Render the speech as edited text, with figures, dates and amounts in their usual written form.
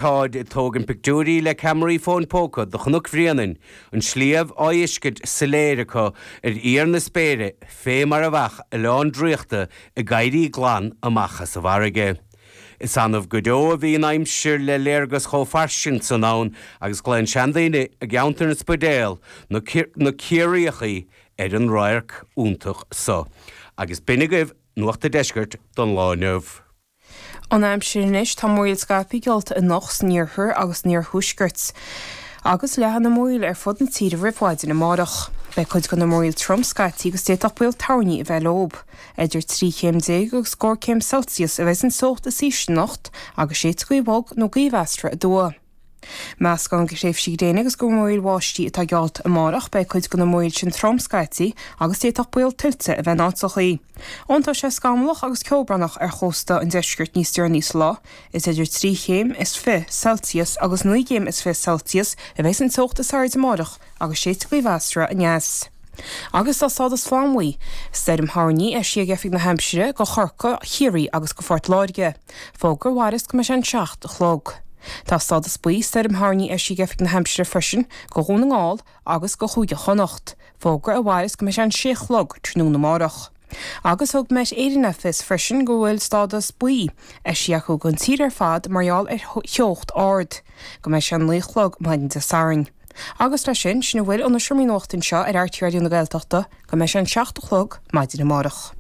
Táid ag tógaint pictiúirí le ceamaraí fóin póca de Chnoc Bhréanainn, an sliabh á fheiscint soiléir acu ar íor na spéire fé mar a bheadh oileán draíochta ag éirí glan amach as an bhfarraige. Is annamh go deo a bhíonn aimsir le léargas chomh fairsing san ann agus glaonn seandaoine i gceantar an Spidéil na Ciarraíochaí ar an radharc iontach so. Agus b'in agaibh Nuacht a' Deiscirt don lá inniu. An aimsir anois, tá múraíl scaipthe geallta anocht san iarthar agus san iarthuaisceart, agus leathfaidh na múraíl ar fud na tíre roimh mhaidin amárach. Beidh cuid de na múraíl trom scaití agus d'fhéadfadh baol toirní a bheith leo. Idir 13 chéim agus scór céim Celsius a bheidh an teocht is ísle anocht agus séidfidh gaoth bhog nó gaoth mheasartha aduaidh. Meascán de thréimhsí gréine agus de mhúraíl bháistí atá geallta amárach. Beidh cuid de na múraíl sin trom scaití agus d'fhéadfadh baol tuilte a bheith in áiteachaí. Iontóidh sé scamallach agus ceobhránach ar chósta an deiscirt níos deireanaí sa lá. Is idir 3 chéim is 20 Celsius agus 9 gcéim is 20 Celsius a bheidh an teocht is airde amárach agus séidfidh gaoth mheasartha aneas. Agus tá stádas flannbhuí stoirm thoirní eisithe ag Oifig na hAimsire do Chorcaigh, Chiarraí agus do Phort Láirge. Fógra a mhairfeas go mbeidh sé an 7 a chlog. Tá stádas buí stoirm thoirní eisithe ag Oifig na hAimsire freisin do Dhún na nGall agus do Chúige Chonnacht, fógra a mhairfeas go mbeidh sé an 6 a chlog tráthnóna amárach. Agus thug Met Éireann le fios freisin go bhfuil stádas buí eisithe acu don tír ar fad mar gheall ar theocht ard, go mbeidh sé an 9 a chlog maidin Dé Sathairn. Agus leis sin, sin a bhfuil ó na Seomraí Nuachta anseo ar RTÉ Raidió na Gaeltachta go mbeidh sé an 7 a chlog maidin amárach.